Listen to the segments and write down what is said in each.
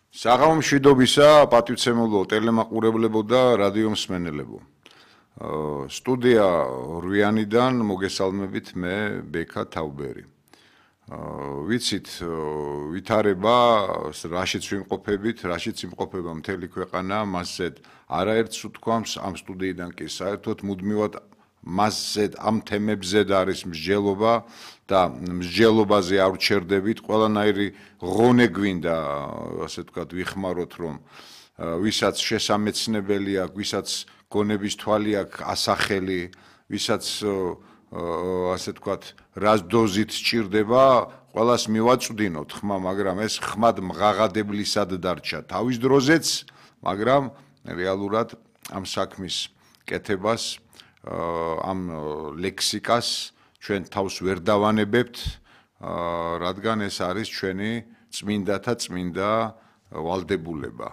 საღამომშვიდობისა, პატივცემულო ტელემაყურებლებო და რადიო მსმენელებო. სტუდია რვიანიდან მოგესალმებით მე ბექა თავბერი. ვიცით, ვითარება, რაშიც ვიმყოფებით, რაშიც იმყოფება მთელი ქვეყანა, მასზე არაერთს უთქვამს ამ სტუდიიდან კი საერთოდ მუდმივად მასზე ამ თემებზე არის მსჯელობა და მსჯელობაზე არ ვჩერდებით, ყველანაირი ღონე გვინდა, ასე ვთქვათ, ვიხმაროთ, რომ ვისაც შესამეცნებელი აქვს, ვისაც გონების თვალი აქვს ასახელი, ვისაც ასე ვთქვათ, რას დოზით სჭირდება, ყველას მივაწვდინოთ ხმა, მაგრამ ეს ხმად მღაღადებლისად დარჩა თავის დროზეც, მაგრამ რეალურად ამ საქმის კეთებას ამ ლექსიკას ჩვენ თავს ვერ დავანებებთ, რადგან ეს არის ჩვენი წმინდათა წმინდა ვალდებულება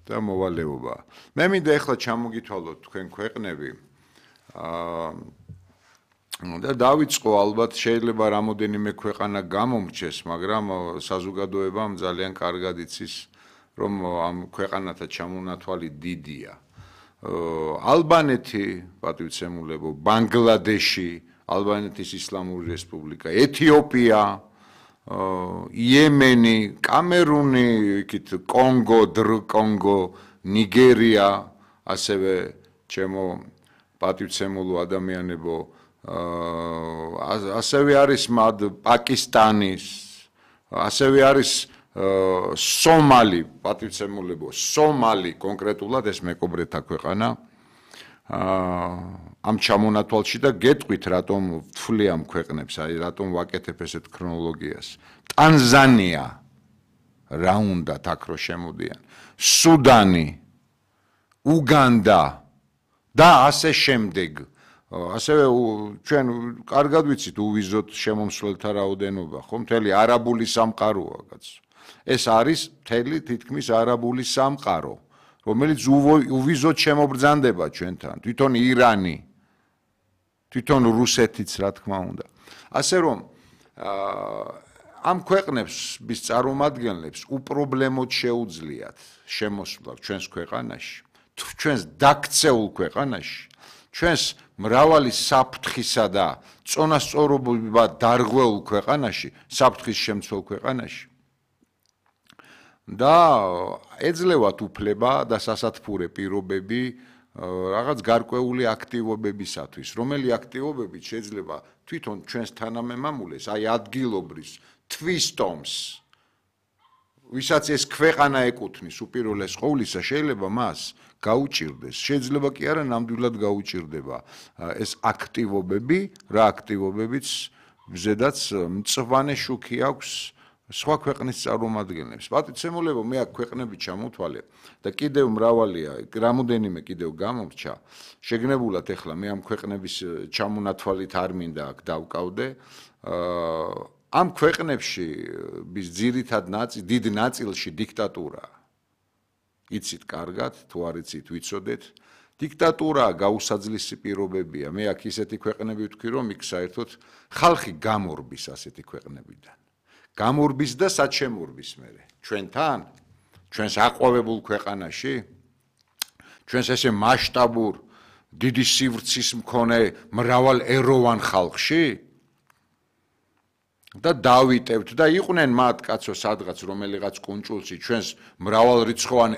და მოვალეობა. მე მინდა ეხლა ჩამოგითვალოთ თქვენ ქვეყნები და დავიწყო, ალბათ შეიძლება რამოდენიმე ქვეყანა გამომრჩეს, მაგრამ საზოგადოებამ ძალიან კარგად იცის, რომ ამ ქვეყანათა ჩამონათვალი დიდია. ალბანეთი, პატივცემულებო, ბანგლადეში, ალბანეთის ისლამური რესპუბლიკა, ეთიოპია, იემენი, კამერუნი, იქით კონგო, კონგო, ნიგერია, ასევე ჩემო პატივცემულო ადამიანებო, ასევე არის პაკისტანის, ასევე არის სომალი, პატივცემულებო, სომალი კონკრეტულად ეს მეკობრეთა ქვეყანა ამ ჩამონათვალში და გეტყვით რატომ ვთვლი ამ ქვეყნებს, აი რატომ ვაკეთებ ესეთ ქრონოლოგიას. ტანზანია რა უნდათ აქ რო შემოდიან, სუდანი, უგანდა და ასე შემდეგ. ასევე ჩვენ კარგად ვიცით უვიზოთ შემომსვლელთა რაოდენობა, ხო, მთელი არაბული სამყაროა, კაცო. ეს არის მთელი თითქმის არაბული სამყარო, რომელიც უვიზოთ შემობრძანდება ჩვენთან, თვითონ ირანი, თვითონ რუსეთიც, რა თქმა უნდა. ასე რომ ამ ქვეყნებს bis წარმომადგენლებს უპრობლემოდ შეუძლიათ შემოსვლა ჩვენს ქვეყანაში, ჩვენს დაქცეულ ქვეყანაში, ჩვენს მრავალი საფრთხისა და წონასწორობა დარღვეულ ქვეყანაში, საფრთხის შემცველ ქვეყანაში. და ეძლევათ უფლება და სასათბურე პირობები რაღაც გარკვეული აქტივობებისათვის, რომელი აქტივობებით შეიძლება თვითონ ჩვენს თანამემამულეს, აი ადგილობრის თვისტომს, ვისაც ეს ქვეყანა ეკუთვნის უპირველეს ყოვლისა, შეიძლება მას გაუჭირდეს, შეიძლება კი არა ნამდვილად გაუჭირდება ეს აქტივობები, რა აქტივობებიც ზედაც მწვანე შუქი აქვს სხვა ქვეყნის წარმომადგენლებს. პატივცემულებო, მე აქ ქვეყნები ჩამოთვალე და კიდევ მრავალია, რამოდენიმე კიდევ გამომრჩა. შეგნებულად ეხლა მე ამ ქვეყნების ჩამონათვალით არ მინდა აქ დავკავდე. ამ ქვეყნებში ძირითად დიდ ნაწილში დიქტატურაა. იცით კარგად, თუ არ იცით, ვიცოდეთ. დიქტატურაა, გაუსაძლისი პირობებია. მე აქ ისეთი ქვეყნები ვთქვი, რომ იქ საერთოდ ხალხი გამორბის ასეთი ქვეყნებიდან. გამორბის და საჩემორბის მერე. ჩვენთან, ჩვენს აყვავებულ ქვეყანაში, ჩვენს ესე მასშტაბურ, დიდი სივრცის მქონე მრავალეროვან ხალხში და დავიტევთ და იყვნენ მათ კაცო სადღაც რომელიღაც კუნჭულში ჩვენს მრავალრიცხოვან